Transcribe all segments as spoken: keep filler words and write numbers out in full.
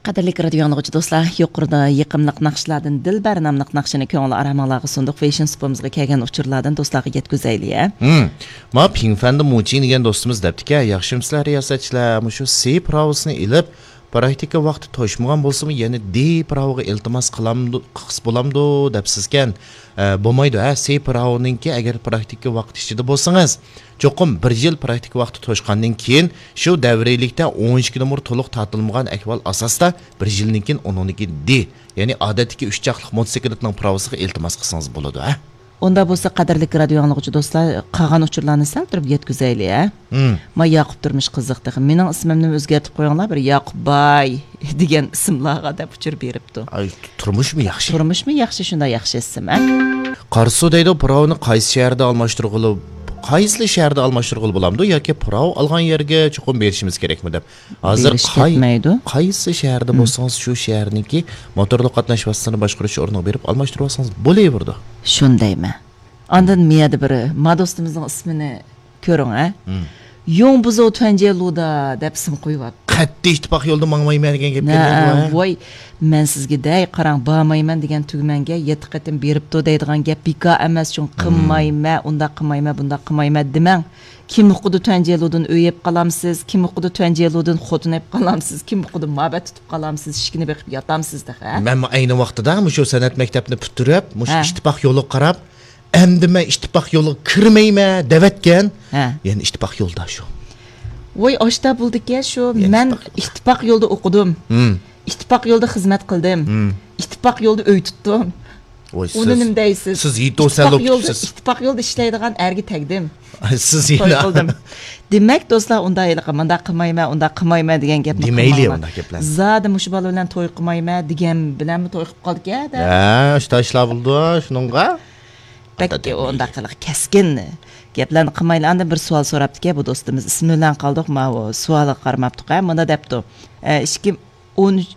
قەدىرلىك رادىيو ئاڭلىغۇچى دوستلار، يۇقىرىدا يېقىملىق ناخشىلاردىن دىلبەر ناملىق ناخشىنى كۆڭۈل ئارامىڭلارغا سۇندۇق. فېيشىن سۇپىمىزغا كەلگەن ئۇچۇرلاردىن دوستلارغا يەتكۈزەيلى، ھە؟ ھىم. ما پىڭفەندى موچىڭ دېگەن دوستىمىز دەپتىكەن، ياخشىمۇسىلەر رىياسەتچىلەر، مۇشۇ سى پىراۋىسىنى ئېلىپ، پراكتىكا ۋاقتى توشمىغان بولسىمۇ، يەنە دى پىراۋىغا ئىلتىماس قىلامدۇ-، قىلسا بولامدۇ دەپسىزكەن. ئە، بولمايدۇ، ھە، سى پىراۋىنىڭكى ئەگەر پراكتىكا ۋاقتى ئىچىدە بولسىڭىز، چوقۇم بىر يىل پراكتىكا ۋاقتى توشقاندىن كېيىن، شۇ دەۋرىيلىكتە ئون ئىككى نومۇر تولۇق تارتىلمىغان ئەھۋال ئاساسىدا بىر يىلدىن كېيىن ئۇنىڭدىكى دى، يەنى ئادەتتىكى ئۈچ چاقلىق موتوسىكلىتنىڭ پىراۋىسىغا ئىلتىماس قىلسىڭىز بولىدۇ، ھە؟ ئۇندا بولسا، قەدىرلىك رادىيو ئاڭلىغۇچى دوستلار، قالغان ئۇچۇرلارنى سەل تۇرۇپ يەتكۈزەيلى، ھە؟ ھىم. ما ياقۇپ تۇرمۇش قىزىق تېخى. مېنىڭ ئىسمىمنىمۇ ئۆزگەرتىپ قويۇڭلار، بىر ياقۇپ باي دېگەن ئىسىملارغا دەپ ئۇچۇر بېرىپتۇ. ئاي، تۇرمۇشمۇ ياخشى؟ تۇرمۇشمۇ ياخشى، شۇنداق ياخشى ئىسىم، ھە؟ قارىسۇ دەيدۇ، پىراۋنى قايسى شەھەردە ئالماشتۇرغىلى، قايسى شەھەردە ئالماشتۇرغىلى بولامدۇ ياكى پىراۋ ئالغان يەرگە چوقۇم بېرىشىمىز كېرەكمۇ دەپ. ھازىر بېرىش قاي-، كەتمەيدۇ. قايسى شەھەردە ھىم. بولسىڭىز، شۇ شەھەرنىڭكى موتورلۇق قاتناش ۋاسىتىسىنى باشقۇرۇش ئورنىغا بېرىپ ئالماشتۇرۇۋالسىڭىز بولۇۋېرىدۇ. شۇندايمەن. ئاندىن مىيەدە بىر ما دوستىمىزنىڭ ئىسمىنى كۆرۈڭ، ھە؟ ھىم. يوڭ بۇزۇ تۈەنجيې لۇدا دەپ ئىسىم قويۇۋاپتۇ. قەتئىي ئىتتىپاق يولدا ماڭمايمەن دېگەن گەپ نە، گەپ بۇ، ھە؟ ۋاي، مەن سىزگە دەي، قاراڭ، بارمايمەن دېگەن تۈگمەنگە يەتتە قېتىم بېرىپتۇ دەيدىغان گەپ بىكار ئەمەس، چۈنكى ھىم. قىلمايمەن، ئۇنداق قىلمايمەن، بۇنداق قىلمايمەن دېمەڭ. كىم ئۇقىدۇ تۈەنجيې لۇدىن ئۆي ئېلىپ قالامسىز، كىم ئۇقىدۇ تۈەنجيې لۇدىن خوتۇن ئېلىپ قالامسىز، كىم ئۇقىدۇ مابەت تۇتۇپ قالامسىز، ئىشىكنى بېقىپ ياتامسىز تېخى، ھە؟ مەنمۇ ئەينى ۋاقتىدا مۇشۇ سەنئەت مەكتەپنى پۈتتۈرۈپ، مۇشۇ ھە. ئىتتىپاق يولىغا قاراپ، ئەمدى مەن ئىتتىپاق يولىغا كىرمەيمەن دەۋەتكەن. ھە. يەنە ئىتتىپاق يولدا شۇ. ۋوي، ئاشتا بولدىكەن شۇ. يەنە مەن ئىتتىپاق يولدا. ئىتتىپاق يولدا ئوقۇدۇم. ھىم. ئىتتىپاق يولدا خىزمەت قىلدىم. ھىم. ئىتتىپاق يولدا ئۆي تۇتتۇم. ۋوي، ئۇنى سىز، نېمە دەيسىز؟ سىز يېتىۋالسا ئىتتىپاق يولدا، ئىتتىپاق يولدا ئىشلەيدىغان ئەرگە تەگدىم. سىز توي يەنە قىلدىم. دېمەك، دوستلار، ئۇنداق ھېلىقى مۇنداق قىلمايمەن، ئۇنداق قىلمايمەن دېگەن گەپنى دېمەيلى قىلماڭلار. ئۇنداق گەپلەرنى. زادى مۇشۇ بالا بىلەن توي قىلمايمەن دېگەن بىلەنمۇ توي قىلىپ قالدىكەن-دە. ھە، شۇنداق ئىشلار بولىدۇ شۇنىڭغا. بەك ئۇنداق قىلىق كەسكىن گەپلەرنى قىلمايلى. ئاندىن بىر سوئال سوراپتىكەن بۇ دوستىمىز، ئىسمى بىلەن قالدۇق، ماۋۇ سوئالغا قارىماپتۇق-ھە، مۇنداق دەپتۇ. ئە، ئىككى مىڭ ئون ئۈچ،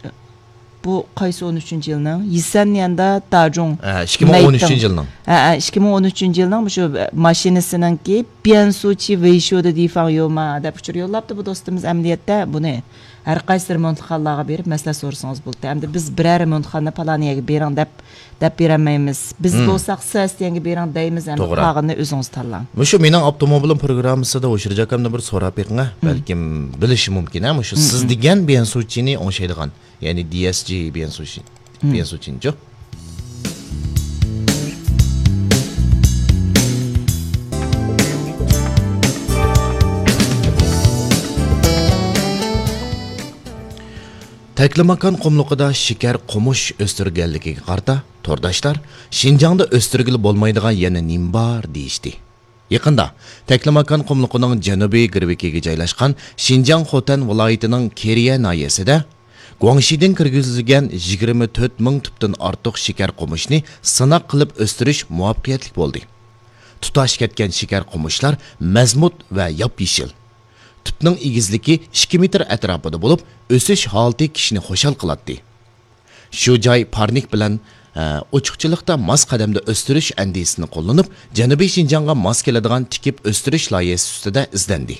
بۇ قايسى ئون ئۈچىنچى يىلنىڭ؟ يىسەن يەندە داجۇڭ ھە، ئىككى مىڭ ئون ئۈچىنچى مەيتىڭ. يىلنىڭ. ھە، ھە، ئىككى مىڭ ئون ئۈچىنچى يىلنىڭ مۇشۇ ماشىنىسىنىڭكى بيەنسۇچى ۋېيشۇدە دىفاڭ يوما دەپ ئۇچۇر يوللاپتۇ بۇ دوستىمىز. ئەمەلىيەتتە بۇنى ھەر قايسى رېمونتخانىلارغا بېرىپ مەسلىھەت سورىسىڭىز بولىدۇ. ئەمدى بىز بىرەر رېمونتخانا پالان يەرگە بېرىڭ دەپ، دەپ بېرەلمەيمىز. بىز مم. بولساق سەستيەنگە بېرىڭ دەيمىز، ئەمدى توغرا. قالغىنىنى ئۆزىڭىز تاللاڭ. مۇشۇ مېنىڭ ئاپتوموبىلىم پروگراممىسىدا ھوشۇرجاكامدىن بىر سوراپ بېقىڭ، ھە. مم. بەلكىم بىلىشى مۇمكىن، ھە، مۇشۇ مم، سىز مم. دېگەن بيەنسۇچىنى ئوڭشايدىغان، يەنى دى ئېس جى بيەنسۇچى، مم. بيەنسۇچىنىچۇ. تەكلىماكان قۇملۇقىدا شېكەر قومۇش ئۆستۈرگەنلىكىگە قارىتا، تورداشلار شىنجاڭدا ئۆستۈرگىلى بولمايدىغان يەنە نېمە بار دېيىشتى. يېقىندا تەكلىماكان قۇملۇقىنىڭ جەنۇبىي گىرۋىكىگە جايلاشقان شىنجاڭ خوتەن ۋىلايىتىنىڭ كېرىيە ناھىيەسىدە گۇاڭشىدىن كىرگۈزۈلگەن يىگىرمە تۆت مىڭ تۈپتىن ئارتۇق شېكەر قومۇشنى سىناق قىلىپ ئۆستۈرۈش مۇۋەپپەقىيەتلىك بولدى. تۇتاش كەتكەن شېكەر قومۇشلار مەزمۇت ۋە ياپيېشىل. تۈپنىڭ ئېگىزلىكى ئىككى مېتىر ئەتراپىدا بولۇپ، ئۆسۈش ھالىتى كىشىنى خۇشال قىلاتتى. شۇ جاي پارنىك بىلەن، ئە، ئوچۇقچىلىقتا ماس قەدەمدە ئۆستۈرۈش ئەندىزىسىنى قوللىنىپ، جەنۇبىي شىنجاڭغا ماس كېلىدىغان تىكىپ ئۆستۈرۈش لايىھەسى ئۈستىدە ئىزدەندى.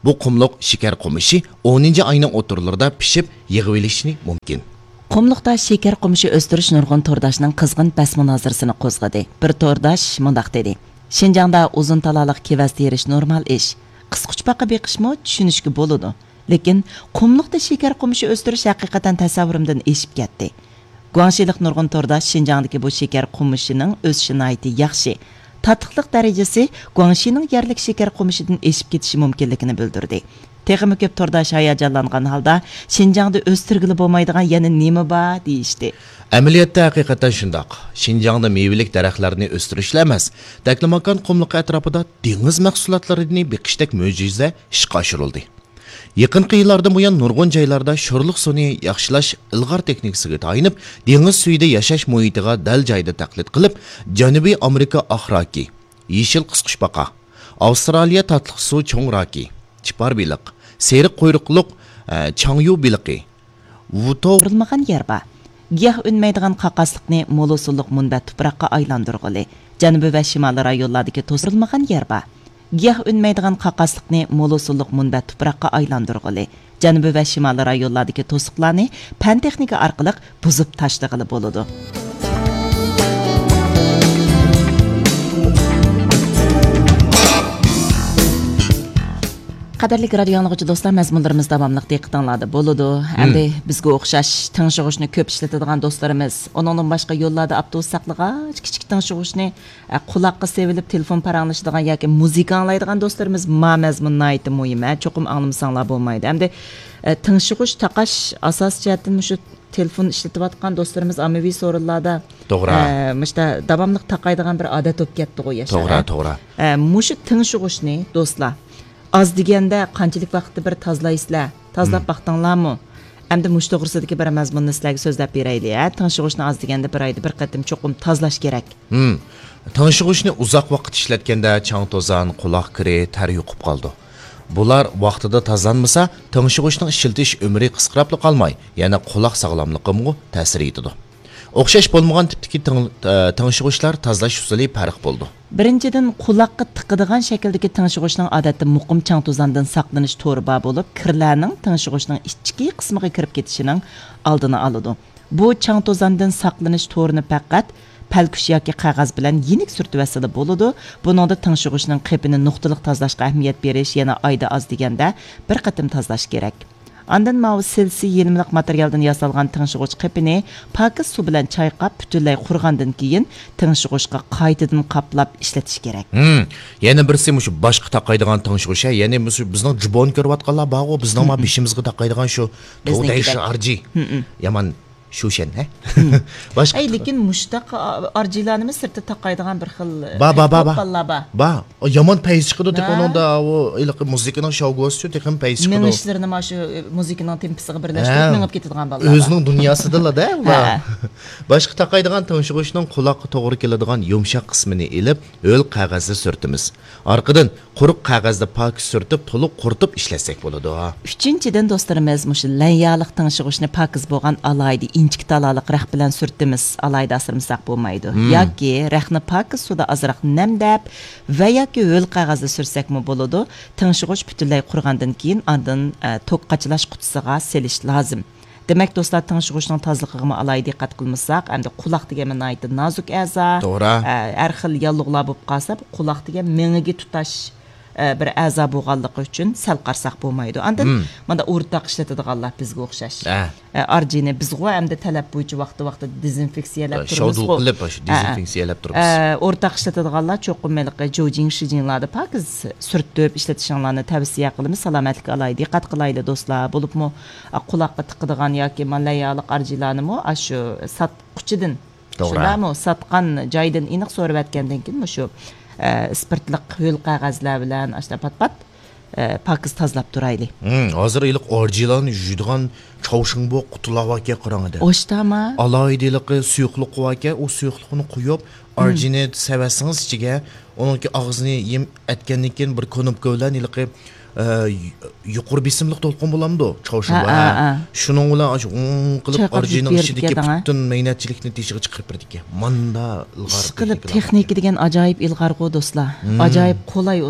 بۇ قۇملۇق شېكەر قومۇشى ئونىنچى ئاينىڭ ئوتتۇرىلىرىدا پىشىپ يىغىۋېلىشى مۇمكىن. قۇملۇقتا شېكەر قومۇشى ئۆستۈرۈش نۇرغۇن تورداشنىڭ قىزغىن بەس مۇنازىرىسىنى قوزغىدى. بىر تورداش مۇنداق دېدى: «شىنجاڭدا ئۇزۇن تالالىق كېۋەز تېرىش نورمال ئىش. قىسقۇچپاقا بېقىشمۇ چۈشىنىشكە بولىدۇ. لېكىن قۇملۇقتا شېكەر قومۇشى ئۆستۈرۈش ھەقىقەتەن تەسەۋۋۇرۇمدىن ئېشىپ كەتتى.» گۇاڭشىلىق نۇرغۇن تورداش شىنجاڭدىكى بۇ شېكەر قومۇشىنىڭ ئۆسۈشى ناھايىتى ياخشى، تاتلىقلىق دەرىجىسى گۇاڭشىنىڭ يەرلىك شېكەر قومۇشىدىن ئېشىپ كېتىشى مۇمكىنلىكىنى بىلدۈردى. تېخىمۇ كۆپ تورداش ھاياجانلانغان ھالدا، «شىنجاڭدا ئۆستۈرگىلى بولمايدىغان يەنە نېمە بار؟» دېيىشتى. ئەمەلىيەتتە ھەقىقەتەن شۇنداق. شىنجاڭدا مېۋىلىك دەرەخلەرنى ئۆستۈرۈشلا ئەمەس، تەكلىماكان قۇملۇقى ئەتراپىدا دېڭىز مەھسۇلاتلىرىنى بېقىشتەك مۆجىزە ئىشقا ئاشۇرۇلدى. يېقىنقى يىللاردىن بۇيان نۇرغۇن جايلاردا شورلۇق سۇنى ياخشىلاش ئىلغار تېخنىكىسىغا تايىنىپ، دېڭىز سۈيىدە ياشاش مۇھىتىغا دەل جايىدا تەقلىد قىلىپ، جەنۇبىي ئامېرىكا ئاق راكى، يېشىل قىسقۇچپاقا، ئاۋسترالىيە تاتلىق سۇ چوڭ راكى، چىپار بېلىق، سېرىق قۇيرۇقلۇق، ئە، چاڭيۇ بېلىقى، ۋۇتو. سۇغۇرۇلمىغان يەر بار. گىياھ ئۈنمەيدىغان قاقاسلىقنى مول ھوسۇللۇق مۇنبەت تۇپراققا ئايلاندۇرغىلى، جەنۇبىي ۋە شىمالىي رايونلاردىكى توسۇلمىغان يەر بار. گىياھ ئۈنمەيدىغان قاقاسلىقنى مول ھوسۇللۇق مۇنبەت تۇپراققا ئايلاندۇرغىلى، جەنۇبىي ۋە شىمالىي رايونلاردىكى توسۇقلارنى پەن تېخنىكا ئارقىلىق بۇزۇپ تاشلىغىلى بولىدۇ. قەدىرلىك رادىيو ئاڭلىغۇچى دوستلار، مەزمۇنلىرىمىز داۋاملىق دىققىتىڭلاردا بولىدۇ. ئەمدى بىزگە ئوخشاش تىڭشىغۇچنى كۆپ ئىشلىتىدىغان دوستلىرىمىز، ئۇنىڭدىن باشقا يوللاردا ئاپتوبۇس ساقلىغاچ كىچىك تىڭشىغۇچنى، ئە، قۇلاققا سېلىپ تېلېفون پاراڭلىشىدىغان ياكى مۇزىكا ئاڭلايدىغان دوستلىرىمىز، ما مەزمۇن ناھايىتى مۇھىم، ھە، چوقۇم ئاڭلىمىساڭلار بولمايدۇ. ئەمدى، ئە، تىڭشىغۇچ تاقاش ئاساسىي جەھەتتىن مۇشۇ تېلېفون ئىشلىتىۋاتقان دوستلىرىمىز ئاممىۋى سورۇنلاردا، توغرا. ئە، مۇشتا داۋاملىق تاقايدىغان بىر ئادەت بولۇپ كەتتىغۇ ياشلار، توغرا، ھە؟ توغرا. ئە، مۇشۇ تىڭشىغۇچنى دوستلار، ئاز دېگەندە قانچىلىك ۋاقىتتا بىر تازىلايسىلەر؟ تازىلاپ باقتىڭلارمۇ؟ ئەمدى مۇشۇ توغرىسىدىكى بىر مەزمۇننى سىلەرگە سۆزلەپ بېرەيلى، ھە؟ تىڭشىغۇچنى ئاز دېگەندە بىر ئايدا بىر قېتىم چوقۇم تازىلاش كېرەك. ھىم. تىڭشىغۇچنى ئۇزاق ۋاقىت ئىشلەتكەندە چاڭ توزان، قۇلاق كىرى، تەر يۇقۇپ قالىدۇ. بۇلار ۋاقتىدا تازىلانمىسا، تىڭشىغۇچنىڭ ئىشلىتىش ئۆمرى قىسقىراپلا قالماي، يەنە قۇلاق ساغلاملىقىمغۇ تەسىر يېتىدۇ. ئوخشاش بولمىغان تىپتىكى تىڭ-، ئە، تىڭشىغۇچلار تازىلاش ئۇسۇلى پەرق بولىدۇ. بىرىنچىدىن، قۇلاققا تىقىدىغان شەكىلدىكى تىڭشىغۇچنىڭ ئادەتتە مۇقىم چاڭ توزاندىن ساقلىنىش تورى بار بولۇپ، كىرلەرنىڭ تىڭشىغۇچنىڭ ئىچكى قىسمىغا كىرىپ كېتىشىنىڭ ئالدىنى ئالىدۇ. بۇ چاڭ توزاندىن ساقلىنىش تورىنى پەقەت پەلكۈش ياكى قەغەز بىلەن يېنىك سۈرتۈۋەتسىلا بولىدۇ. بۇنىڭدا تىڭشىغۇچنىڭ قېپىنى نۇقتىلىق تازىلاشقا ئەھمىيەت بېرىش، يەنە ئايدا ئاز دېگەندە بىر قېتىم تازىلاش كېرەك. ئاندىن ماۋۇ سىلسى يېلىملىق ماتېرىيالدىن ياسالغان تىڭشىغۇچ قېپىنى پاكىز سۇ بىلەن چايقاپ، پۈتۈنلەي قۇرۇغاندىن كېيىن، تىڭشىغۇچقا قايتىدىن قاپلاپ ئىشلىتىش كېرەك. ھىم. يەنە بىرسى مۇشۇ باشقا تاقايدىغان تىڭشىغۇچ، ھە، يەنى مۇشۇ بىزنىڭ جۇبونى كۆرۈۋاتقانلار بارغۇ، بىزنىڭ ما بېشىمىزغا تاقايدىغان شۇ بىزنىڭكىدەك. تودەيشى ئارجى. يامان شۇشەن، ھە؟ باشقا ئەي، لېكىن مۇشۇنداق ئارجىلارنىمۇ سىرتتا تاقايدىغان بىر خىل با، با، با، با. تاپقانلار بار. با. ئۇ يامان پەيز چىقىدۇ، تېخى ھە. ئۇنىڭدا ئۇ ھېلىقى مۇزىكىنىڭ شاۋگوسىچۇ تېخىمۇ پەيز چىقىدۇ. مېڭىشلىرىنى مانا شۇ مۇزىكىنىڭ تېمپىسىغا بىرلەشتۈرۈپ ھە. مېڭىپ كېتىدىغان بالىلار بار. ئۆزىنىڭ دۇنياسىدىلا-دە، ھە. باشقا تاقايدىغان تىڭشىغۇچنىڭ قۇلاققا توغرا كېلىدىغان يۇمشاق قىسمىنى ئېلىپ، ھۆل قەغەزدە سۈرتىمىز. ئارقىدىن قۇرۇق قەغەزدە پاكىز سۈرتۈپ، تولۇق قۇرۇتۇپ ئىشلەتسەك بولىدۇ. ئۈچىنچىدىن، دوستلىرىمىز، مۇشۇ لەنيالىق تىڭشىغۇچنى پاكىز بولغان ئالاھىدە ئىنچىكە تالالىق رەخ بىلەن سۈرتىمىز، ئالاھىدە ئاسرىمىساق بولمايدۇ. مم. ياكى رەخنى پاكىز سۇدا ئازراق نەمدەپ ۋە ياكى ھۆل قەغەزدە سۈرتسەكمۇ بولىدۇ. تىڭشىغۇچ پۈتۈنلەي قۇرۇغاندىن كېيىن، ئاندىن، ئە، توك قاچىلاش قۇتىسىغا سېلىش لازىم. دېمەك، دوستلار، تىڭشىغۇچنىڭ تازىلىقىغىمۇ ئالاھىدە دىققەت قىلمىساق، ئەمدى قۇلاق دېگەن ناھايىتى نازۇك ئەزا. توغرا. ئە، ھەر خىل ياللۇغلار بولۇپ قالسا، بۇ قۇلاق دېگەن مېڭىگە تۇتاش، ئە، بىر ئەزا بولغانلىقى ئۈچۈن سەل قارىساق بولمايدۇ. ئاندىن مم. مانا ئورتاق ئىشلىتىدىغانلار بىزگە ئوخشاش. ئە. ئە، ئارجىنى بىزغۇ ئەمدى تەلەپ بويىچە ۋاقتى ۋاقتىدا دېزىنفېكسىيەلەپ تۇرىمىزغۇ. شاۋدۇل قىلىپ، شۇ ئە، ئە. دېزىنفېكسىيەلەپ تۇرىمىز. ئە، ئورتاق ئىشلىتىدىغانلار چوقۇم ھېلىقى جوجىڭ، شىجىڭلاردا پاكىز سۈرتۈپ ئىشلىتىشىڭلارنى تەۋسىيە قىلىمىز. سالامەتلىككە ئالاھىدە دىققەت قىلايلى، دوستلار. بولۇپمۇ، ئا، قۇلاققا تىقىدىغان ياكى مانا لەنيالىق ئارجىلارنىمۇ ئاشۇ ساتقۇچىدىن، توغرا. شۇنداقمۇ؟ ساتقان جايدىن ئېنىق سورىۋەتكەندىن كېيىن مۇشۇ، ئە، ئىسپىرتلىق ھۆل قەغەزلەر بىلەن ئاشۇنداق پات-پات، ئە، پاكىز تازىلاپ تۇرايلى. ھىم، ھازىر ھېلىقى ئارجىلارنى يۇيىدىغان چاۋشىڭبۇ قۇتىلار باركەن، قاراڭ ئەدە. ئاشتاما؟ ئالاھىدە ھېلىقى سۇيۇقلۇق باركەن، ئۇ سۇيۇقلۇقنى قۇيۇپ، ئارجىنى سېۋەتسىڭىز ئىچىگە، ئۇنىڭكى ئاغزىنى يېم ئەتكەندىن كېيىن بىر كۇنۇپكا بىلەن ھېلىقى، ئە، يۇقىرى بېسىملىق دولقۇن بولامدۇ؟ چاۋشىڭبۇ، ھە، ھە، ھە. ھە. شۇنىڭ بىلەن ئاشۇ ھۇڭ قىلىپ چايقاپ ئارجىنىڭ يۇيۇپ ئىچىدىكى بېرىدىكەن، ھە. پۈتۈن مەينەتچىلىكنى تېشىغا چىقىرىپ بېرىدىكەن. ماندا ئىلغار ئىشقىلىپ، تېخنىكا دېگەن ئاجايىپ ئىلغارغۇ، دوستلار. ھىم. ئاجايىپ قولاي ئۇنىڭ